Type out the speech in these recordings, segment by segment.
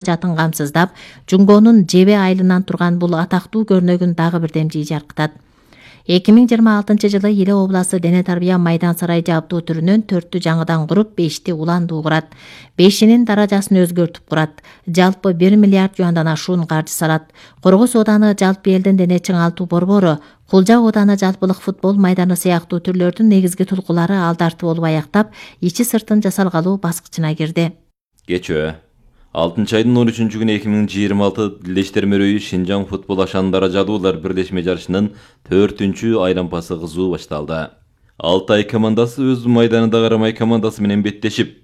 жатын камсыздап, Жунгонун жебе айылынан турган бул атактуу көрнөгүн дагы бир демжи жаркытат. 2026-жылы Иле обласы дене тарбия майдан сарай жабдуу түрүнөн 4-тү жаңыдан куруп, 5ти уландуу курат. 5-инин даражасын өзгөртүп курат. Жалпы 1 миллиард юандан ашуун каржы салат. Коргос ооданы жалпы элдин дене чыңалтуу борбору, Кулжа ооданы жалпылык футбол майданы сыяктуу түрлөрдүн негизги тулкулары алдарты болуп аяктап, ичи сыртын жасалгалуу баскычына кирди. Кечөө 6-айдын 13-күнү 2026 Лештер-Мөрөйү Шинжаң футбол ашандара жадуулар бирлешме жарышынын 4-чү айлампасы кызуу башталды. Алтай командасы өз майданында Карамай командасы менен беттешип,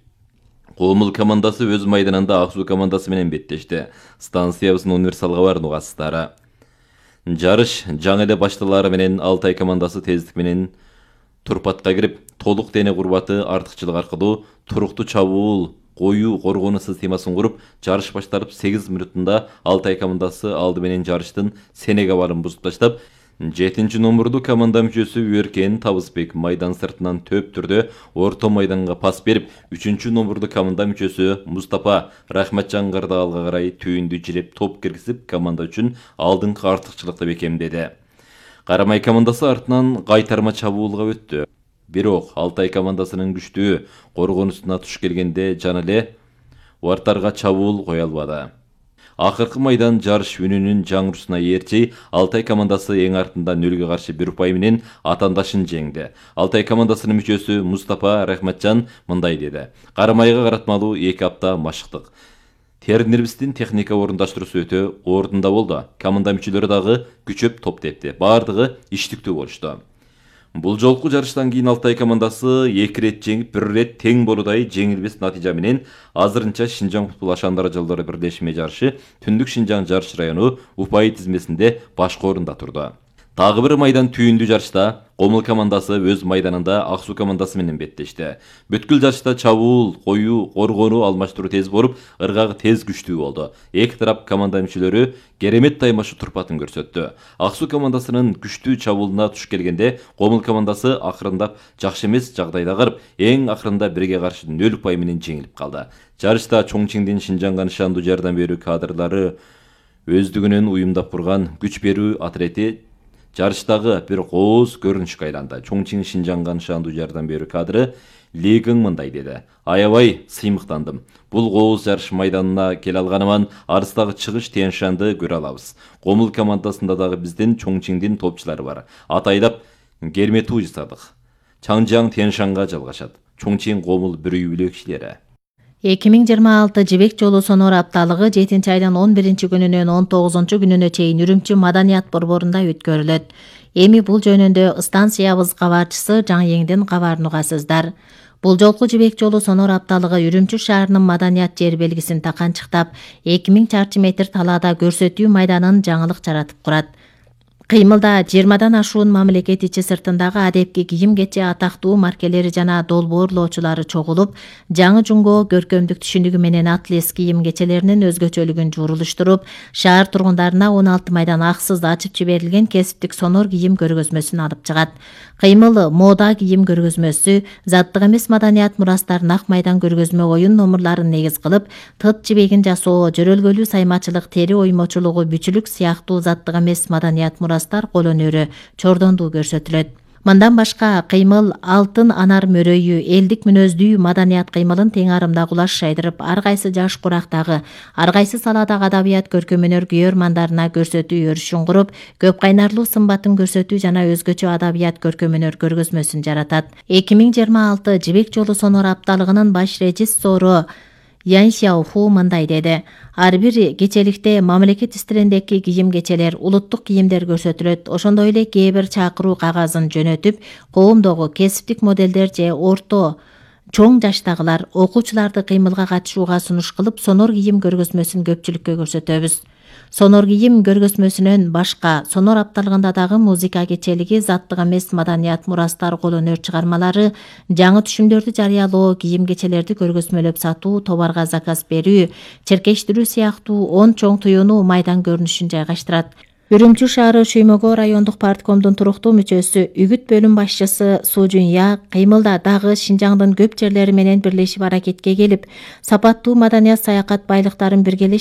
Комул командасы өз майданында Ак Суу командасы менен беттешти. Станциябыздын универсалга бар нугасыздары. Жарыш жаңы эле башталары менен Алтай командасы тездик менен турпатка кирип, толук дене курбаты артыкчылык аркылуу туруктуу чабуул коюу коргонуу системасын куруп, жарыш башталып 8 минутунда Алтай командасы алды менен жарыштын сенеге барын бузуп таштап, 7-чи номердуу команда мүчөсү Өркен Табысбек майдан сыртынан төп түрдө орто майданга пас берип, 3-чү номердуу команда мүчөсү Мустапа Рахматжан Кардалга карай түйүндү жиреп топ киргизип, команда үчүн алдыңкы артыкчылыкты бекемдеди. Карамай командасы артынан кайтарма чабуулга өттү. Бирок Алтай командасынын күчтүү коргонусуна туш келгенде жана эле вартарга чабуул кое албады. Акыркы майдан жарыш үнүнүн жаңырусуна ээрчи Алтай командасы эң артында 0-каршы 1 упай менен атаандашын жеңди. Алтай командасынын мүчөсү Мустапа Рахматжан мындай деди: Карамайга каратмалуу 2 апта машыктык. Тренерибиздин техника орундаштыруусу өтө ордунда болду. Команда мүчөлөрү дагы күчөп топ тепти. Бардыгы иштиктүү болушту. Бул жолку жарыштан кийин Алтай командасы 2 рет жеңип, 1 рет тең болудай жеңилбес натыйжа менен азырынча Шинжаң футбол ашандара жолдору бирлешме жарышы Түндүк Шинжаң жарыш району упай тизмесинде башкы орунда турду. Дагы бир майдан түйүндүү жарышта Комул командасы өз майданында Ак Суу командасы менен беттешти. Бүткүл жарышта чабуул, коюу, коргонуу алмаштыруу тез болуп, ыргагы тез күчтүү болду. Эки тарап команда мүчөлөрү керемет таймашуу турпатын көрсөттү. Ак Суу командасынын күчтүү чабуулуна туш келгенде Комул командасы акырындап жакшы эмес жагдайда кырып, эң акырында 1-ге каршы 0 упай менен жеңилип калды. Жарышта Чоңчиңдин Шинжаңга нышандуу жардам берүү кадрлары өздүгүнөн уюмдап курган күч берүү атрети жарыштагы бир кооз көрүнүшкө айланды. Чоңчиң Шинжаңга нышандуу жардам берүү кадры Лигиң мындай деди: Аябай сыймыктандым. Бул кооз жарыш майданына келе алганыман арыстагы чыгыш Тянь-Шанды көрө алабыз. Комул командасында дагы биздин Чоңчиңдин топчулары бар. Атайлап керметүү жасадык. Чаңжаң Тянь-Шанга жалгашат. Чоңчиң Комул бир үй бүлө кишилери. 2026 Жибек жолу сонор апталыгы 7-айдын 11-күнүнөн 19-күнүнө чейин Үрүмчү маданият борборунда өткөрүлөт. Эми бул жөнүндө станциябыз кабарчысы Жаңы кабарын угасыздар. Бул жолку Жибек жолу сонор апталыгы Үрүмчү шаарынын маданият жер белгисин таканчыктап, 2000 чарчы метр талаада көрсөтүү майданын жаңылык жаратып курат. Кыймылда 20дан ашуун мамлекет ичи сыртындагы адепки кийим-кече атактуу маркелери жана долбоорлоочулары чогулуп, жаңы жунго көркөмдүк түшүнүгү менен атлес кийим-кечелеринин өзгөчөлүгүн жуурулуштуруп, шаар тургундарына 16 майдан аксыз ачып жиберилген кесиптик сонор кийим көргөзмөсүн алып чыгат. Кыймыл мода кийим көргөзмөсү, заттык эмес маданият мурастарын ак майдан көргөзмө оюн номурларын негиз кылып, тыт жибегин жасоо, жөрөлгөлүү саймачылык, тери оймочулугу, бүчүлүк сыяктуу заттык эмес маданият мурастар кол өнөрү чордондуу көрсөтүлөт. Мындан башка кыймыл алтын анар мөрөйү, элдик мүнөздүү маданият кыймылын тең арымда кулаш шайдырып, ар кайсы жаш курактагы, ар кайсы саладагы адабият көркөмөнөр күйөрмандарына көрсөтүү өрүшүн куруп, көп кайнарлуу сымбатын көрсөтүү жана өзгөчө адабият көркөмөнөр көргөзмөсүн жаратат. 2026 Жибек жолу сонор апталыгынын баш режиссору Ян Сяоху мындай деди: Ар бир кечеликте мамлекет истериндеги кийим-кечелер, улуттук кийимдер көрсөтүлөт. Ошондой эле кээ бир чакыруу кагазын жөнөтүп, коомдогу кесиптик моделдер же орто чоң жаштагылар, окуучуларды кыймылга катышууга сунуш кылып, сонор кийим көргөзмөсүн көпчүлүккө көрсөтөбүз. Сонор кийим көргөзмөсүнөн башка сонор апталыгында дагы музыка кечелиги, заттык эмес маданият мурастар, кол өнөр чыгармалары, жаңы түшүмдөрдү жарыялоо, кийим-кечелерди көргөзмөлөп сатуу, товарга заказ берүү, черкештирүү сыяктуу 10 чоң туюну майдан көрүнүшүн жайгаштырат. Үрүмчү шаары Шүймөгө райондук парткомдун туруктуу мүчөсү, Үгүт бөлүм башчысы Суу Жунья кыймылда дагы Шинжаңдын көп жерлери менен бирлешип аракетке келип, сапаттуу маданият саякат байлыктарын биргелешти.